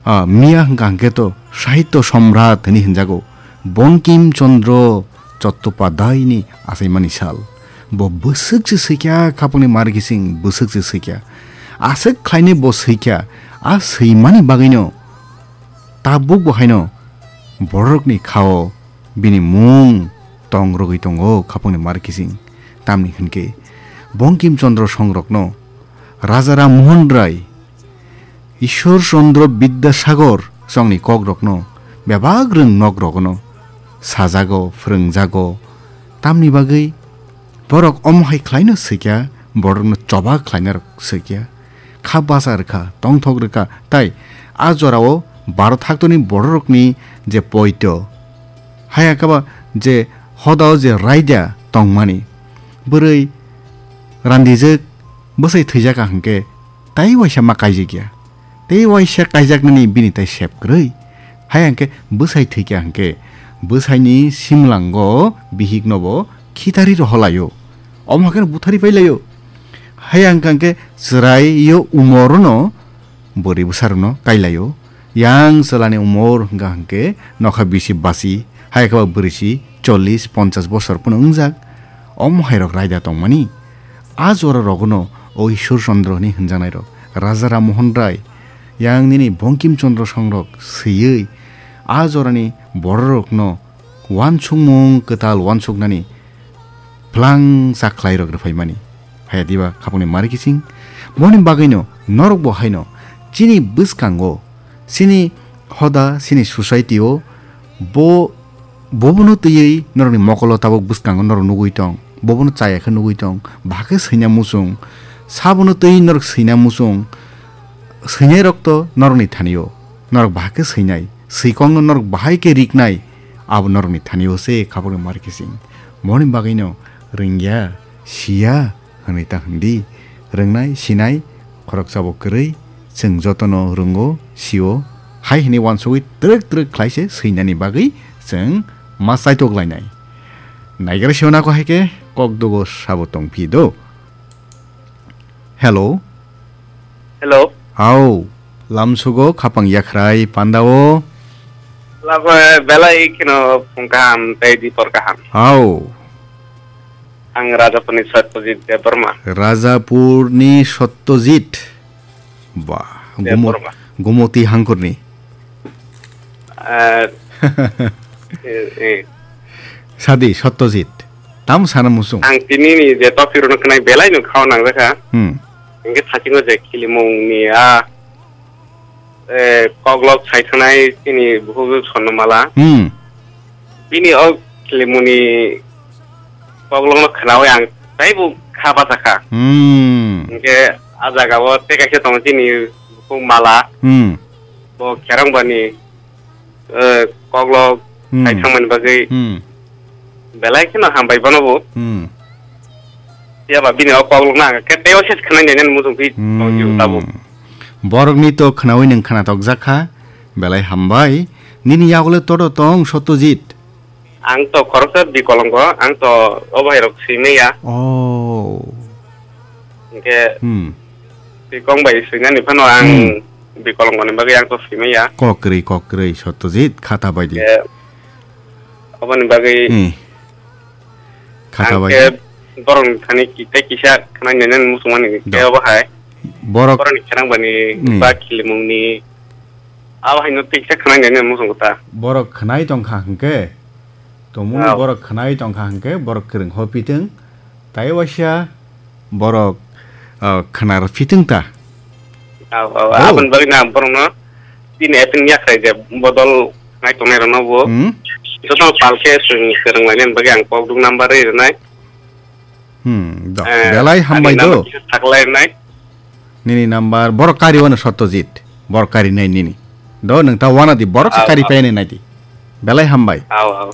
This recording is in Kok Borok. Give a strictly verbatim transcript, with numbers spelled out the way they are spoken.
Ah, miya hwnkha hwnkhe to Sahitya Samrat hwnwi hwnjago, Bankim Chandra Chattopadhyayni achaimani sal. Bo bwswk se swikha khapangni markising, bwswk se swikha. Aswk khlainwi bo swikha, a swimani bagwino tabuk bo haino bororokni khao bini mung tong rwgwi tongo khapangni markising. Tamni hwnkhe Bankim Chandra songrokno Raja Ram Mohan Rai, Ishwar Chandra Bidyasagar chongni kokrokno bebak rwng nokrogono sajago, phrwngjago. Tamni bagwi borok omo hai khlaino swikha, borokno choba khlainarok swikha, kha bacha rwkha, tongthok rwkha, tai a jorao Bharat haktorni bororokni je poito, haya kaba je hodao je raida tongmani, bwrwi randijwk bwsai thwijak hwnkhe tai waisa ma kaijak ya. Tei waisa kaijaknani bini tai sep kwrwi. Hai hwnkhe bwsai thwikha hwnkhe bwsaini simlango bihikno bo khitari roholaio. Omo hakheno buthari pailaio. Hai hwnkha hwnkhe chwraio umorno bwrwi bwsarokno kailaio. Yang chwlani umor hwnkha hwnkhe nokha bisi basi, hai khe ba bwrwisi chollish ponchash bosor phano wngjak. Omo hairok raida tongmani. A jora rogono o Ishwar Chandra hwnwi hwnjaknairok, Raja Ram Mohan Rai, yang nini Bankim Chandra songrok swiwi a jorani bororokno uansukmung kwtal uansuknani phlangsa khlairok rwphaimani. Haya diba khapangni mari kiching? Boni bagwino norokbo haino chini bwskango, chini hoda, chini society-o bo, bobono twiwi norokni mokolo tabuk bwskango norok nugwi tong, bobono chaya khe nugwi tong, bahai khe swina muchung, sabono twiwi norok swina muchung, swinairok to norokni thani-o, norok bahai khe swinai, swikokno norok bahai khe riknai, abo norokni thani-o se khapangni mari kiching. Boni bagwino rwngya, siya, hwnwi ta hwndi. Rwngnai, sinai, khoroksa bo kwrwi, chwng jotono rwngo, sio, hai hwnwi uansugwi twrwk twrwk khlai se swinani bagwi chwng ma chaitok lainai. Naigra sio nako hai khe kok dugo sabo tong phi do. Hello. Hello. Hao, lamsugo khapang yakhrai pandao. Labo belai kheno phung kaham tei dipor kaham. Hao. Ang Rajapurni Satyajit Debbarma. Rajapurni Satyajit. Ba, Gumo-, Debbarma. Gumoti hangkurni. Eh, eh, eh. Sadi, Satyajit. Tam sana musung. Ang tini ni je topic rwno khnai belai no khao nang jakha. Hmm. Hingke thakingo je khilimung ni a eh, koklok sai thangnai chini bukhuk Swarnamala. Hmm. Bini o khilimungni koklokno khnaui ang taibo kha bachakha. Hmm. Hingke a jagao tei kaisa tongo chini bukhuk Mala. Hmm. Bo Kherangbani, eh, koklok Hmm. sai thangmani bagwi Hmm. belai kheno hambai bono bo. Hmm. Phiya ba bini o koklokno ang khe teibo ses khwnai nai nani muchung phi Hmm. tongwi tabuk. Borokni to khnaui nwng khnathokjak kha, belai hambai. Nini yago le todo tong Satyajit? Ang to khoroksa bikolongo, ang to o bahairok swimaya. Oh. Hingke Hmm. bikong bai swinani phano ang Hmm. bikolongoni bagwi ang to swimaya. Kok kwrwi, kok kwrwi, Satyajit, khata bai di. Hingke oboni bagwi Hmm. Khata ang bai khe di. Borokni thani ki-, tei kisa khwnai nai nani muchungmani Do. Khe obo hai. Borok Borokni kherang bani Hmm. Ba khilimungni abo haino tei kisa khwnai nai nani muchungo ta. Borok khwnai tongkha hwnkhe, tongmungni Ao. Borok khwnai tongkha hwnkhe, borok kwrwng hopitwng, tai waisa borok, ah, khwnar pitwng ta. Ao, ao, Ao. Aboni bagwi na borokno bini apini yakhrai je bodol nai tongnai rokno bo. Hmm? Jotono pal khe chwng kwrwng lainani bagwi ang kok duk number rwi rwnai. Hmm, do. Eh, Belai ani hambai number do. Kisa saklai rwnai. Nini number, borok kari wano Satyajit. Borok kari nai nini. Do, nwng ta wana di, borok se Ao, kari ao. Painai nai di. Belai hambai. Ao, ao.